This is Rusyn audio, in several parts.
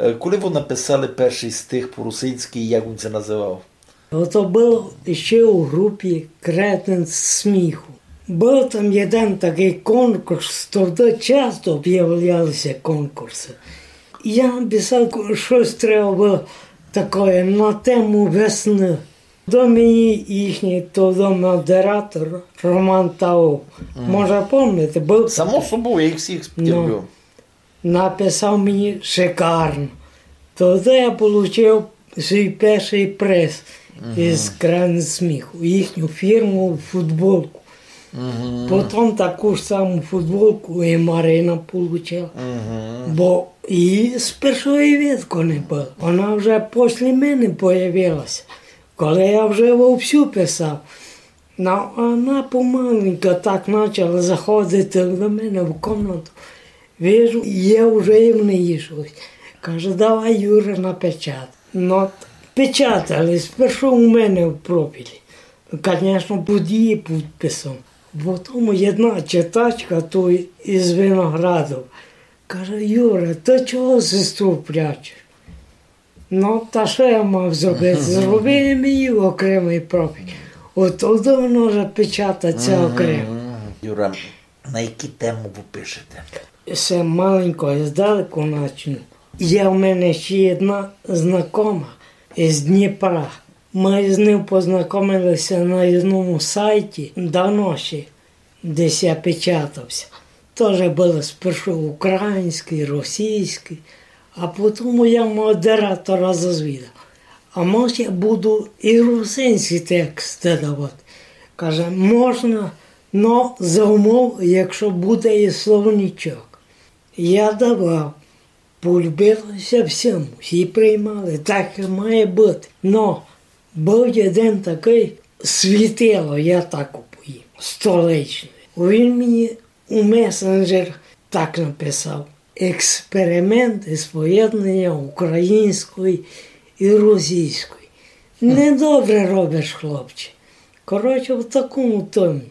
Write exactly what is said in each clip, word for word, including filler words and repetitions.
Е, коли вы написали першый стих по-русинськы, як він ся называв? Ото было іщи у групі «Кретин сміху». Быв там єден такый конкурс, тогды часто объявляли ся конкурсы. Я написав, ко-, штось треба было такоє на тему весны. До мені їхній тогды модератор Роман Таов. Може, помните, быв... Само собою, я їх всіх... Ну. Терпів. Написав мені шикарно. Тогды я получив свій першый приз із «Кретин сміху», їхню фірму футболку. Потім таку ж саму футболку і Марина получила. Бо її з першого видку не было. Вона вже після мене появилася, коли я вже вовсю писав. Ну, а вона помаленьку так почала заходити до мене в кімнату. Вижу, є вже і в неї штось. Каже: «Давай, Юра, напечатай». Ну, печатали, спершу у мене в профілі. Конечно, під її підписом. Потім єдна читачка, той із Виноградов, каже: «Юра, ты чого сестру прячеш?» Ну, та што я мав зробити? Зробив їм її окремый профіль. От тогды воно вже печатать ся окремо. Юра, на які темы вы пишете? Се маленько, я здалеку начну. Є в мене ще єдна знакома із Дніпра. Мы з ним познакомили ся на єдному сайті, давно ще, десь я печатав ся. Тоже было спершу українськый, російськый, а потім я модератора зазвідав: «А може, я буду і русинські тексты давати?» Каже: «Можна, но за умов, якщо буде і словничок». Я давав. Полюбило ся всім, всі приймали, так і має быти. Но быв єден такый світило, я так упоїв, столичный. Він мені у месенджер так написав: «Експеримент із поєднання української і російської. Недобре робиш, хлопче». Коротше, в такому тоні.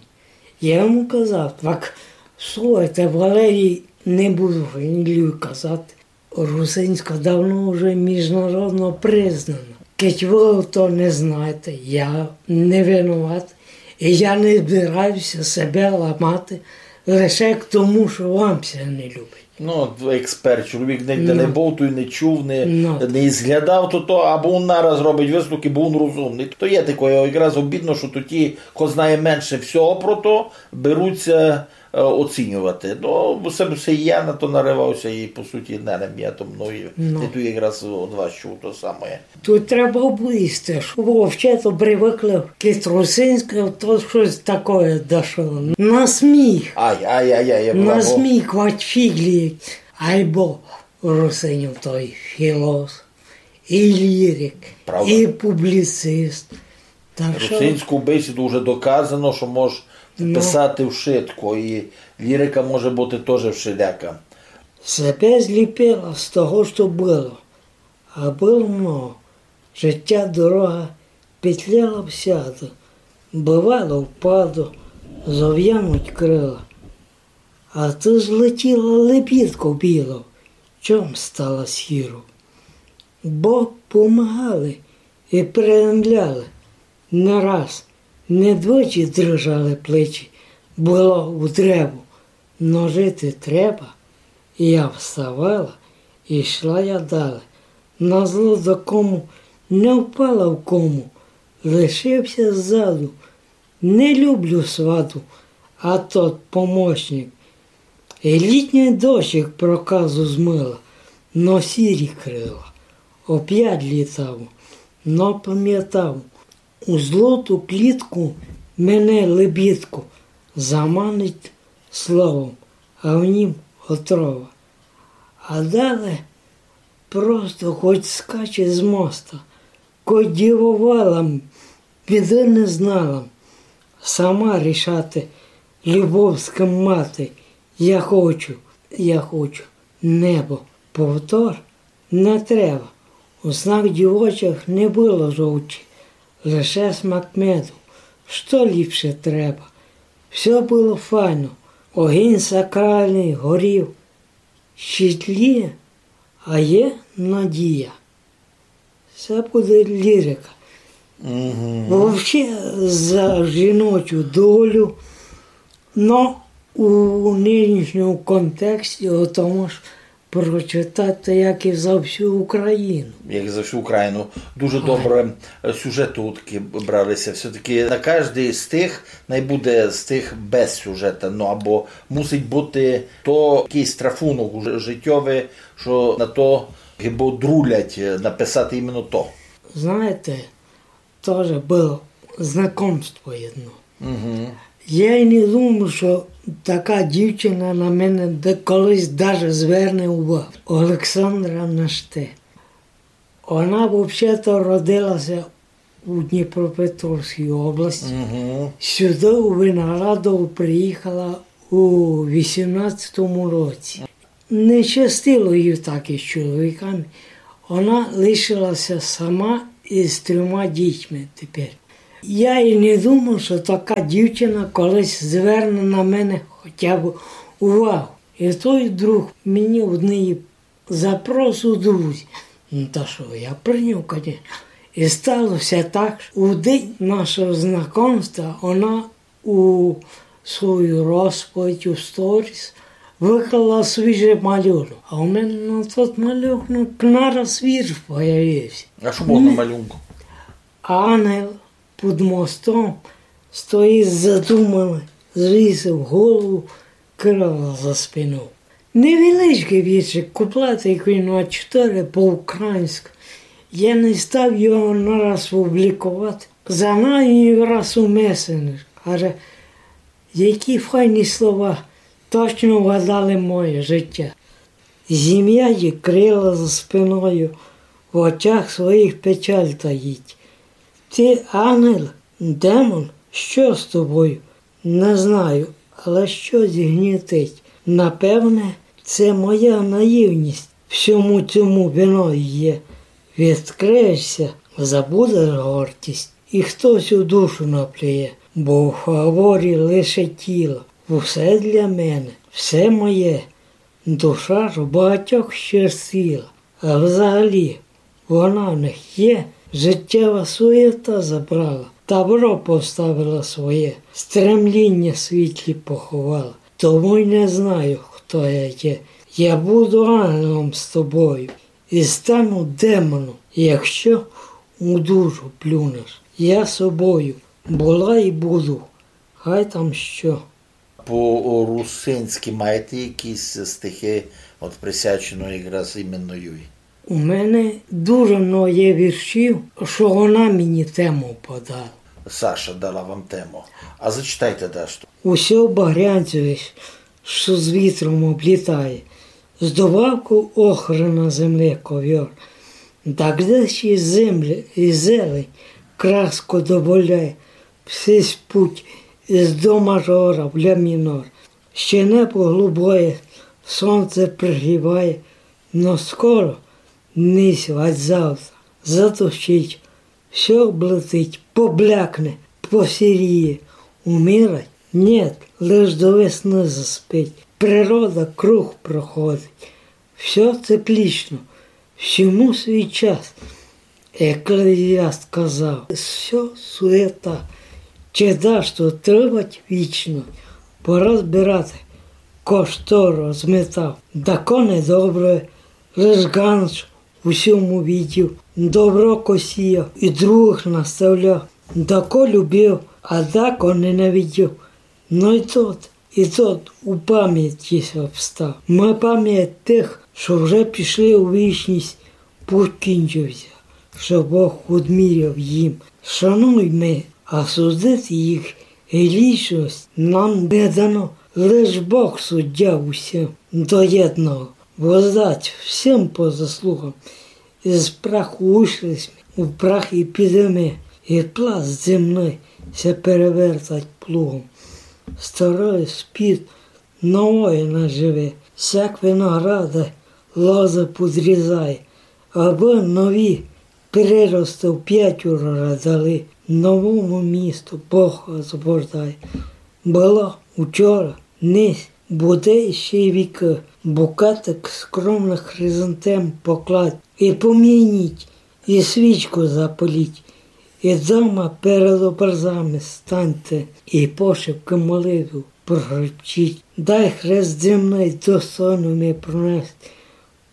Я йому казав: «Так, слухайте, Валерій, не буду фамілію казати, русинська давно вже міжнародно признана. Кидь вы то не знаєте, я не винуватый. І я не збираюся себе ламати лише к тому, що вам ся не любить». Ну, от експерт, чоловік не, не бовтує, не чув, не, не зглядав, то, то, або він нараз робить висновки, бо він розумный. То є таке, якраз обідно, що то ті, хто знає менше всього про то, беруть ся, е, оцінювати. Ну, бо се, се я на то наривав ся і, по суті, не, не я то мною, я то якраз од вас чув то саме. Тут треба облізти, што вообще то привыкли, кидь русинське, то штось такоє дошло. На сміх. Ай, ай, ай, ай, я... На сміх, вать фіґлі. Айбо русинів той філософ, і лірик, і публіцист. Так што русинську бесіду вже доказано, што мож писати вшытко, і лірика може быти тоже вшеляка. Себе зліпила з того, што было. А было много. Життя дорога, петляла всяды. Бывало, впаду, зов'януть крила. А ты злетіла лебідков білов, чом стала сіров? Бо помагали і приємляли не раз, не двічі дрижали плечі, было у древу, но жити треба. Я вставала, і йшла я далі. Назло докому не впала в кому, лишився ззаду. Не люблю свату, а тот помощник. І літній дощик проказу змыла, но сірі крила. Опять літав, но пам'ятав, у злоту клітку мене лебідку заманить словом, а в нім отрова. А далі просто хоть скаче з моста, хоть дівовала, біды не знала, сама рішати, любовська мати, я хочу, я хочу небо. Повтор не треба. У снах дівочих не было жовчі, лише смак меду. Што ліпше треба? Всьо было файно, огінь сакральный горів, щитлі, А є надія. Се буде лірика. Вообще за жіночу долю, но у нынішньому контексті о тому ж прочитати, як і за всю Україну. Як і за всю Україну. Дуже добре, е, сюжеты такі бралися. Все-таки на каждый з тых най буде з тых без сюжета, ну, або мусить быти то якыйсь трафунок уже житьовый, што на то гибы друлять, е, написати іменно то. Знаєте, тоже было знакомство єдно. Я й не думав, што така дівчина на мене де-, колись даже зверне увагу. Олександра Наште. Она вообще-то родилася у Дніпропетровській області. Сюды у Виноградово приїхала у вісімнадцятому році. Не щастило їй так із чоловіками. Она лишилася сама із трьома дітьми тепер. Я і не думав, што така дівчина колись зверне на мене хоча б увагу. І той друг мені однієї запрос у друзі. Ну, та што, я прийняв, конечно. І стало ся так, што у день нашого знакомства она у свою розповідь, у сторіс, виклала свіжый малюнок. А у мене на тот малюнок нараз вірш появився. А што было на малюнку? Ангел під мостом стоїть задуманый, звісив голову, крила за спину. Невеличкый віршик, куплет, якый на чотири по-українськы. Я не став його нараз публікувати. Загнав його раз у месенджер. Каже, які файні слова, точно вгадали моє життя. Земля є крила за спиною, в очах своїх печаль таїть. Ти ангел, демон, що з тобою? Не знаю, але щось гнітить. Напевне, це моя наївність всьому цьому виною є. Відкриєшся, забудеш гордість, і хтось у душу наплює, бо в фаворі лише тіло. Усе для мене, все моє. Душа ж багатьох щастила, а взагалі вона в них є. Життєва суєта забрала, тавро поставила своє, стремління світлі поховала. Тому й не знаю, хто я є. Я буду ангелом з тобою і стану демоном, якщо у душу плюнеш. Я собою була і буду, хай там що. По-русинськы маєте якісь стихи, от, присвячені якраз іменно юй? У мене дуже много є віршів, што вона мені тему подала. Саша дала вам тему. А зачитайте дашто. Усьо багрянцеве, што з вітром облітає, з добавков охры на землі ковьор. Да где ще земля і зелень краску добавляє, всись путь із до мажора в ля мінор. Ще небо голубоє, сонце пригріває, но скоро, не сьогодні, завтра, затушить, всьо облетить, поблякне, посіріє, умирать? Нєт, лиш до весны заспить. Природа круг проходить. Всьо циклічно, всьому свій час. Еклезіаст казав, всьо суєта, чи дашто тривать вічно, пора збирати, ко што розметав. Дако недобре, лиш ґанч у сьому видів, добро ко сіяв і другых наставляв. Дако любив, а дако ненавидів. Но й тот, і тот у памяти ся встав. Мы память тых, што вже пішли у вічность, путь кінчився, што Бог одміряв їм. Шануйме, а судити їх грішность нам не дано. Лиш Бог суддя усім до єдного, воздасть всім по заслугам. Із праху вышли сьме, у прах і підеме, і пласт земный ся перевертать плугом. Старый спить, новоє наживе, сяк винограда лозы подрізає, абы нові приросты в пятьоро дали, новому місту Бог освобождає. Было учора, нись, буде ще вікы. Букетик скромных хризантем покладь, і помініть, і свічку запаліть, і дома перед образами станьте, і пошепком молитву прошепчіть. Дай хрест земный достойно ми пронести,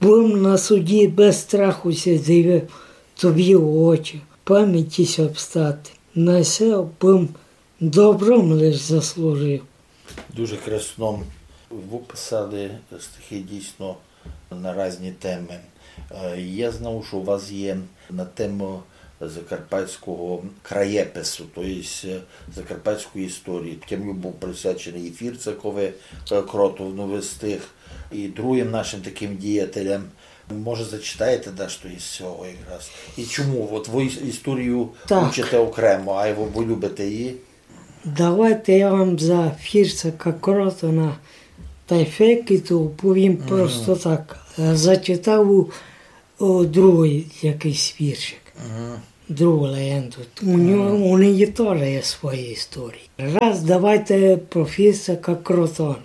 бым на суді без страху ся дивив тобі в очі, памяти ся обстати. На се бым добром лиш заслужив. Дуже красно выписали стихи дійсно на різні темы. Е, я знав, што у вас є на тему закарпатського краєпису, то єсть, е, закарпатської історії. Тямлю, быв присвяченый і Фірцакови, е, Кротону встиг, і другим нашим таким діятелям. Може, зачитаєте дашто із сього якраз? І чому? От вы іс-, історію Так. учите окремо, а вы, вы любите її? Давайте я вам за Фірцака Кротона тай Фекіту повім Мгм. просто так. Е, зачитав у, о, другый якыйсь віршик. Мгм. Другу легенду. У нього, Мгм. у неї тоже є свої історії. Раз давайте про Фірцака Кротона.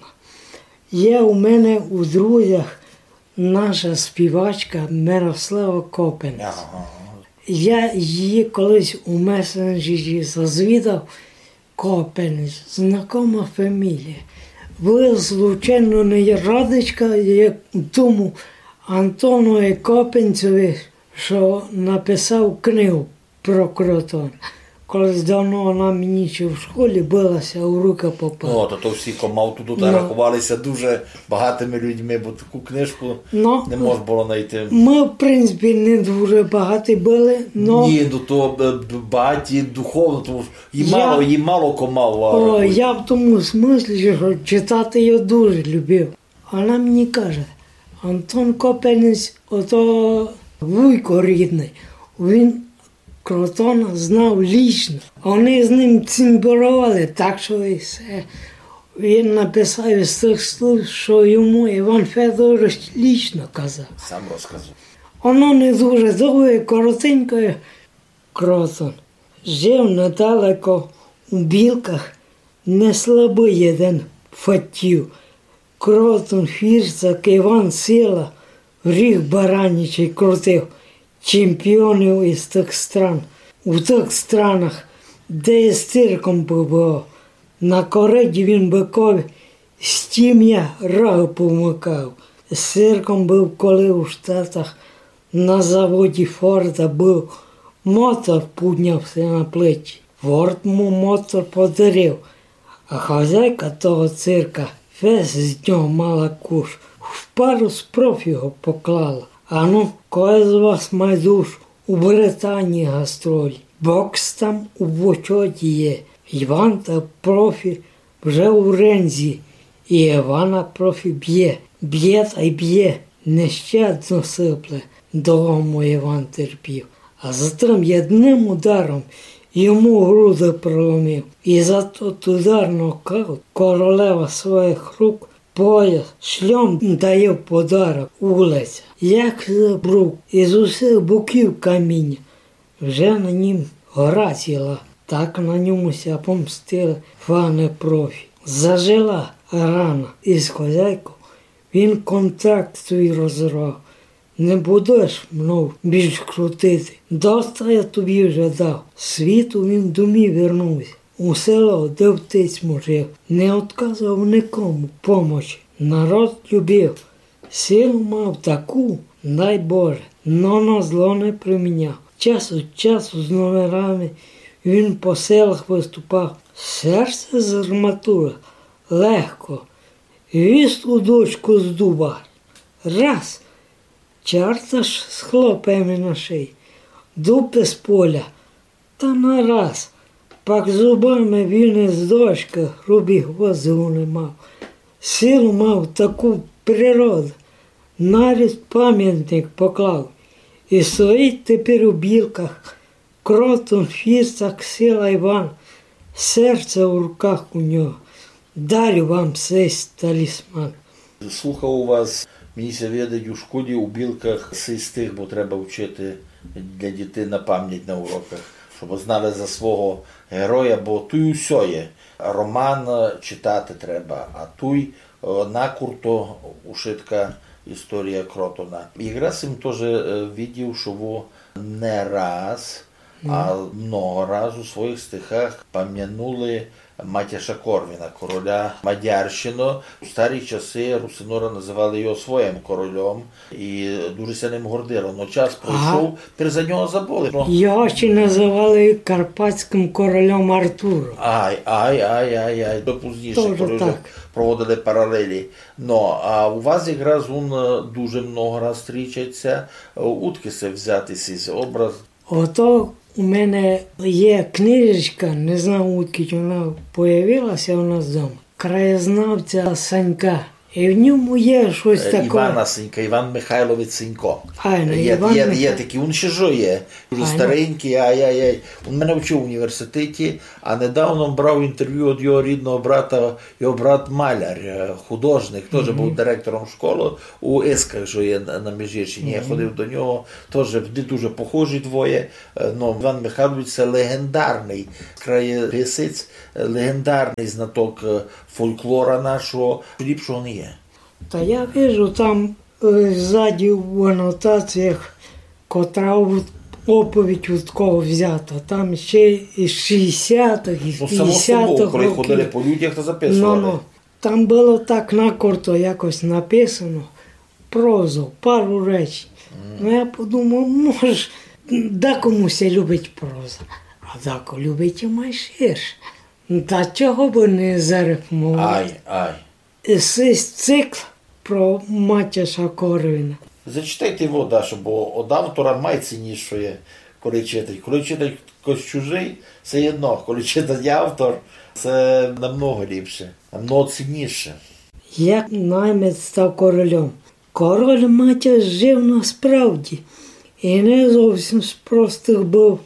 Є у мене у друзях наша співачка Мирослава Копенець. Ага. Я її колись у месенджері зазвідав. Копенець, знакома фамілія. Вы, случайно, не родичка є тому Антонові Копенцеві, што написав книгу про Кротон? Колись давно она мені ще в школі была, ся у рукы попала. Ну, то, то всі, ко мав туды, Ну. раховали ся дуже багатыми людьми, бо таку книжку Ну, не мож было найти. Мы, в принципі, не дуже багаті были, но Ні, ну то, е, б-, багаті духовно, тому што її Я мало, її мало ко мав, а, О, рахує. я в тому смыслі, што читати її дуже любив. Она мені каже: Антон Копенець, ото вуйко рідный, він Кротона знав лічно. Они з ним цімборовали, так што і всьо. Він написав із тых слів, што йому Іван Федорович лічно казав. Сам розказав. Оно не дуже довге, коротеньке. Кротон жив недалеко у Білках, не слабый єден фатів. Кротон, Фірцак, Іван Сила, ріг баранячий крутив чемпіонів із тых стран. У тых странах, де із цирком бывав, на кориді він быкові з тім'я рогы помыкав. З цирком быв, коли у Штатах на заводі Форда быв, мотор пудняв ся на плечі. Форд му мотор подарив, а хозяйка того цирка фест з нього мала куш, в пару з профі го поклала. Ану, кой з вас май душ у Британії гастролі? Бокс там у почоті є. Іван та профі вже у ринзі, і Івана профі бє. Бє тай бє, нещадно сипле, довго му Іван терпів. А затым єдным ударом йому груды проломив. І за тот удар нокаут королева своїх рук пояс шльом дає в подарок улиця. Як забрук, із усіх боків каміння. Вже на нім гора ціла, так на ньому ся помстили фаны профі. Зажила рана із хозяйков, він контракт свій розорвав. Не будеш мнов більш крутити. Доста я тобі вже дав. Світу він домів вернувся. У село, де отець му жив. Не отказав никому помочі. Народ любив. Силу мав таку, дай Боже, но на зло не приміняв. Час од часу з номерами він по селах выступав. Серце з арматуры легко, віз у дочку з дуба. Раз, чарта ж з хлопами на шиї, дуб із поля, та нараз, пак зубами він із дочкы грубі гвозды уламав. Силу мав таку природу, навіть памятник поклав. І стоїть тепер у Білках Кротон, Фірцак, Сила Іван, серце у руках у нього. Дарю вам сей талісман. Слухав у вас, мені ся видить, у школі у Білках сись стих, бо треба вчити для дітей на память на уроках, щоб знали за свого героя, бо туй усьо є. Роман, е, читати треба, а туй Е, накурто ушытка історія Кротона. Якраз им тоже, е, видів, што вы не раз, а много раз у своїх стихах памянули Матяша Корвіна, короля Мадярщины. У старі часы русиноры называли його своїм корольом і дуже ся ним гордили. Но час пройшов, тепер за нього забыли. Но. Його ще называли карпатськым корольом Артуром. Ай, ай, ай, ай, ай. То пізніше, коли вже проводили паралелі. Но, а у вас якраз он, е, дуже много раз стрічать ся. Е, удкы се взяти сись образ? Ото у мене є книжечка, не знаю, удкы вона появила ся у нас дома. Краєзнавця Санька. І в ньому є штось таке. Івана Сенька, Іван Михайлович Сенько. Айно, є, Іван є, є Михайлович. Такый, він ще жиє. Дуже старенькый, ай-яй-яй. Він мене вчив в університеті, а недавно брав інтервю від його рідного брата, його брат маляр, е, художник, теж був директором школи у Исках, що є на, на Міжгірщині. Я ходив до нього, теж вони дуже похожі двоє. Е, ну, Іван Михайлович — це легендарный краєписець, е, легендарный знаток, е, фольклора нашого. Ліпшого не є. Та я вижу, там, е, ззаді в анотаціях, котра от-, оповідь від кого взята. Там ще і з шістдесятых, і з пятдесятых років. Ну, само собою, коли ходили по людях, то записували. Ну, ну. Там было так накурто якось написано. Прозу, пару речень. Ну, я подумав, може, дакому ся любить проза, а дако любить і май ширше. Та чого бы не зарифмовати? Ай, ай. Сись цикл про Матяша Корвіна. Зачитайте його, Дашо, бо од автора май ціннішоє, коли читать. Коли читать хтось чужый, всьо єдно, коли читать автор, се намного ліпше, намного цінніше. Як наймет став корольом? Король Матяш жив насправді, і не зовсім з простых быв,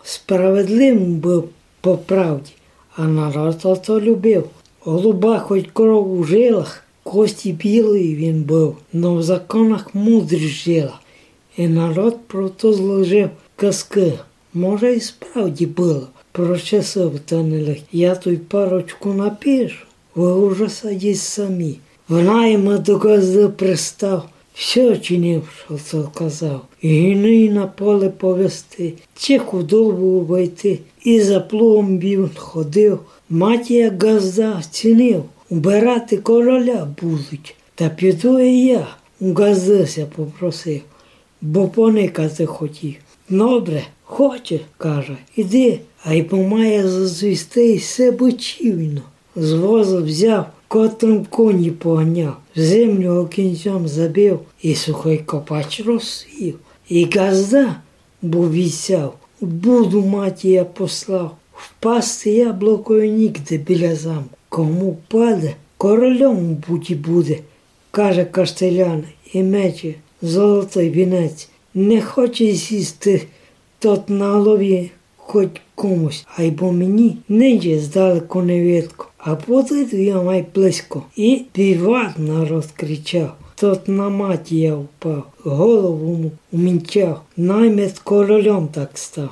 справедливым быв по правді, а народ ото любив. Голуба хоть кров у жилах, кості білої він быв, но в законах мудрість жила, і народ про то зложив казкы. Може, і справді было, про часы та нелегкі. Я туй парочку напишу, вы уже садіть самі. В наймет до ґазды пристав, всьо чинив, што тот казав. І гіней на поле повести, чи худобу обойти, і за плугом він ходив. Матія ґазда цінив, убирати короля будуть. Та піду і я, у ґазды ся попросив, бо поникати хотів. Добре, хоче, каже, іди, айбо має зазвісти ся бычівно. З воза взяв, котрым коні поганяв, землю кінцьом забив і сухый копач розсів. І ґазда, бо вісяв, у буду Матія послав, впасти яблокою нігде біля замку. Кому впаде, корольом у буді буде, каже каштелян, і мече золотый вінець. Не хоче сісти тот на голові хоть комусь, айбо мені нинче здалеку не видко, а подойду я май близько. І віват народ кричав, тот на Матія впав, голову му умінчав, наймет корольом так став.